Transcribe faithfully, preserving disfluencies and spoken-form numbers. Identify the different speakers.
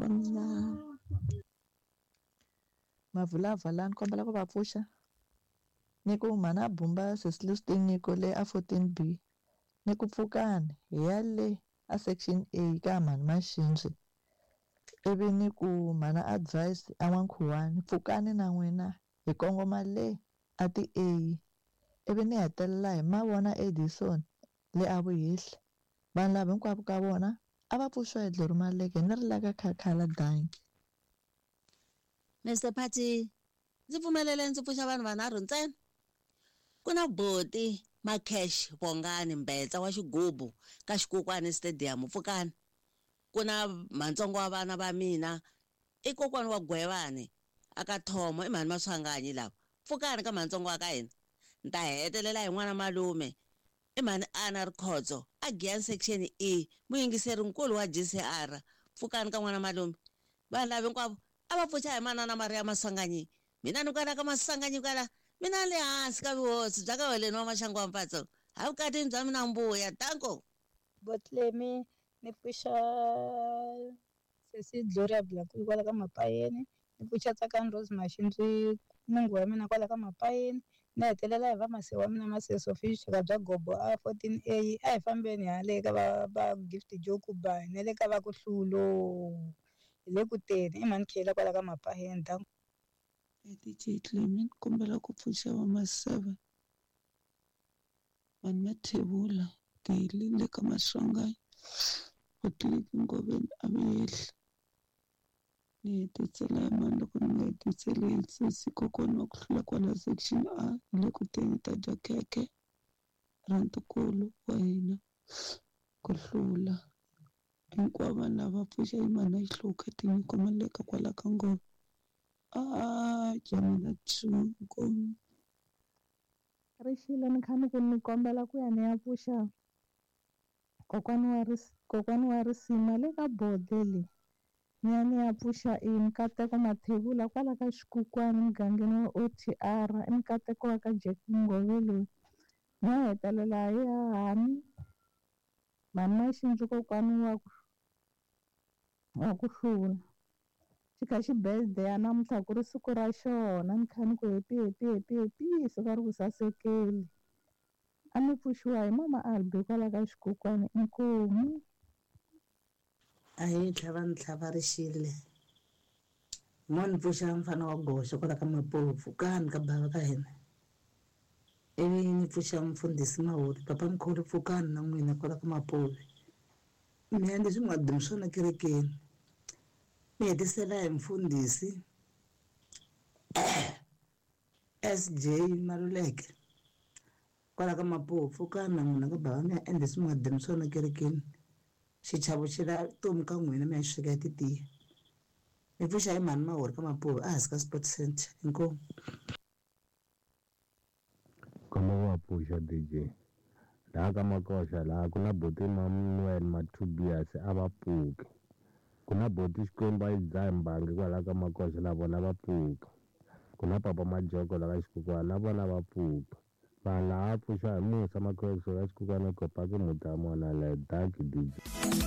Speaker 1: wa mina.
Speaker 2: Mavulava la ni kombela ku va pfuxa ni ku mhana Bumba sesi Tinyiko le a fourteen B ni ku pfukani hi ya le a section A ka mhani Maxindzi ivi ni ku mhana Advice a N'wankhuwani pfukani na n'wina hi kongoma le a ti A ivi ni hetelela hi mavona Edison le a Vuhehli vanhu lava hinkwavo ka vona a va pfuxiwa hi Dlori Maleke ni ri la ka Khakhala danki.
Speaker 3: Mister Party, ndzi pfumelele ndzi pfuxa vanhu vanharhu ntsena. Ku na Boti Makesh Bongani Mbetsa wa xigubu ka Xikukwani Stadium pfukani. Ku na mantsongo wa vana va mina i kokwani wa Gwevani aka Thomo i mhani Maswanganyi lava. Pfukani ka mantsongo wa ka hina. Ni ta hetelela hi n'wana malume i mhani Anna Rikhotso a Giyani section E muyingiseri nkulu wa G C R. Pfukani ka n'wana malume. Vanhu lava hinkwavo a va pfuxa hi manana Maria Maswanganyi. Mina ni kwala ka Maswanganyi kwala mina le hansi ka vuhosi bya ka Holeni wa Maxangu wa Mpatso. Ha vukatini bya mina mbuya danko.
Speaker 4: Botlemi ni pfuxa sesi Gloria Blankulu kwala ka Mapayeni, ni pfuxa Tsakani Rose Maxindzi mungu wa mina kwala ka Mapayeni, ni hetelela hi va mase wa mina Mase Sophie Xaka bya Gobo a fourteen A a hi fambeni hale ka va va Gift Joku ba ne le ka va ku hlulo hi le ku teni i mhani Khela kwala ka Mapayeni danko.
Speaker 1: D J Clement kombela ku pfuxa va Maseve vanhu Mathebula Deli le ka Maswanganyi Botleki Ngoveni a Vuhehli ni hetisela hi mani loko ni nga hetiseli hi sesi kokwana wa ku hlula kwala section A hi le ku teni ta dya khekhe ra ntukulu wa hina ku hlula hinkwavo vanhu lava pfuxa hi mhani a Xihluka Tinyiko Maleka kwala ka Ngove a jamela two nkomu.
Speaker 5: Rixile ni kha ni ku ni kombela ku ya ni ya pfuxa kokwani wa ris kokwani wa risima le ka bodele ni ya ni ya pfuxa i Nkateko Mathebula kwala ka Xikukwani mugangeni wa O T R i Nkateko wa ka Jack Ngove loyi ni ya hetelela hi hahani mhani Maxindzi kokwani wa ku wa ku hlula xi kha xi birthday ya namuntlha ku ri siku ra xona ni kha ni ku happy happy happy happy siku ri ku sasekeli a ni pfuxiwa hi mama Albi kwala ka Xikukwani inkomu.
Speaker 6: A hi tlhava ni tlhava rixile mo ni pfuxa mfana wa goxa kwala ka Mapovu pfukani ka bava ka hina ivi ni pfuxa mfundhisi Mahori papa mkhulu pfukani na n'wina kwala ka Mapovu mi endle leswi mi nga dumi swona kerekeni mi hetisela hi mfundhisi S J Maluleke kwala ka Mapovu pfukani na n'wina ka bava mi ya endle leswi mi nga dumi swona kerekeni xichavo xi la tomu ka n'wina mi ya xi sweka titiya mi pfuxa hi mhani Mahori ka Mapovu a hansi ka Sport Center inkomu.
Speaker 7: Khombo wa pfuxa D J laha ka Makoxa laha ku na Boti Manuel Mathubias a va pfuki ku na Boti Xikwembu a yi dzahi mbangi kwalaha ka Makoxa na vona va pfuki ku na Papa Majoko la ka Xikukwani na vona va pfuki vanhu lava pfuxa hi Musa Makhwexo ka Xikukwani Kopaki Mutamona le Dark D J.